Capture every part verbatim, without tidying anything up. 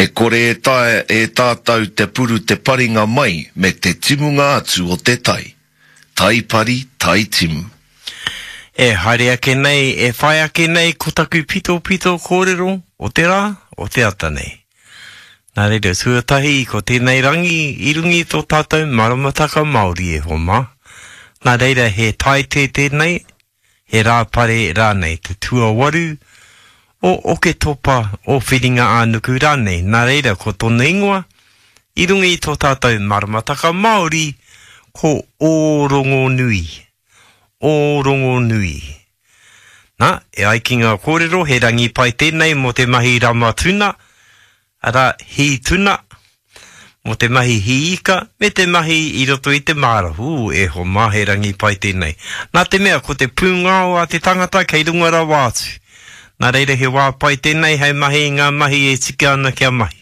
E kore e taea e tātou te puru te paringa mai me te timunga atu o te tai. Tai pari, tai timu. E haere ake nei, e whai ake nei ko taku pitopito kōrero o te rā, o te ata nei. Nā reira, tuatahi ko tēnei rangi i runga i tō tātou maramataka Māori e hoa mā. Nā reira he taite tēnei, he rāpare rānei, te tuawaru o Oketopa o Whiringa-ā-nuku rānei. Nā reira ko tōna ingoa i runga i tō tātou maramataka Māori ko Ōrongonui. Ōrongonui. Nā, e ai ki ngā kōrero he rangi pai tēnei mō te mahi rama tuna, arā, hī tuna, mō te mahi hī ika, me te mahi i roto i te māra. Hū, e hoa mā, he rangi pai tēnei. Nā te mea, ko te pūngao a te tangata kei runga rawa atu. Nā reira he wā pai tēnei hei mahi i ngā mahi e tika ana kia mahi.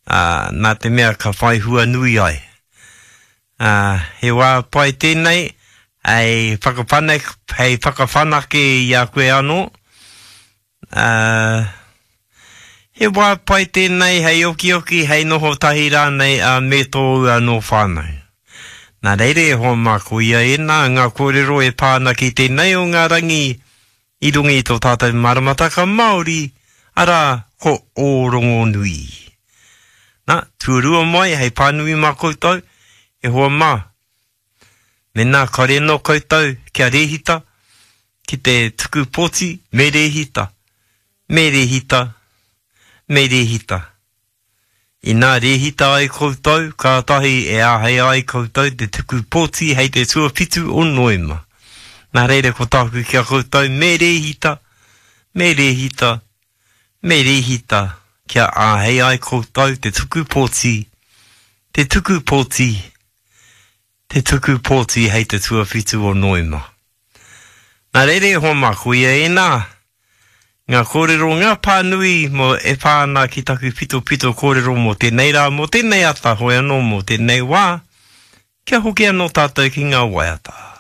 Ā, nā te mea ka whai hua nui ai. Ā, he wā pai tēnei hei whakawhanake, hei whakawhanake i a koe anō. Ā, he wā pai tēnei hei okioki, hei noho tahi rānei ā, me tōu anō whānau. Nā reira e hoa mā, koia ēnā ngā kōrero e pā ana ki tēnei o ngā rangi i runga i tō tātou maramataka Māori, arā, ko Ōrongonui. Nā, tuarua mai hei pānui mā koutou, e hoa mā, mēnā kāore anō koutou kia rēhita ki te tuku pōti, me rēhita, me rēhita, me rēhita. Inā rēhita ai koutou, kātahi e āhei ai koutou te tuku pōti hei te tuawhitu o Noema. Nā reira ko tāku ki a koutou, me rēhita, me rēhita, me rēhita, kia āhei ai koutou te tuku pōti, te tuku pōti, te tuku pōti hei te tuawhitu o Noema. Nā reira e hoa mā, koia ēnā, ngā kōrero, ngā pānui mō e pā ana ki taku pitopito kōrero mō tēnei rā, mō tēnei ata, hoi anō mō tēnei wā, kia hoki anō tātou ki ngā waiata.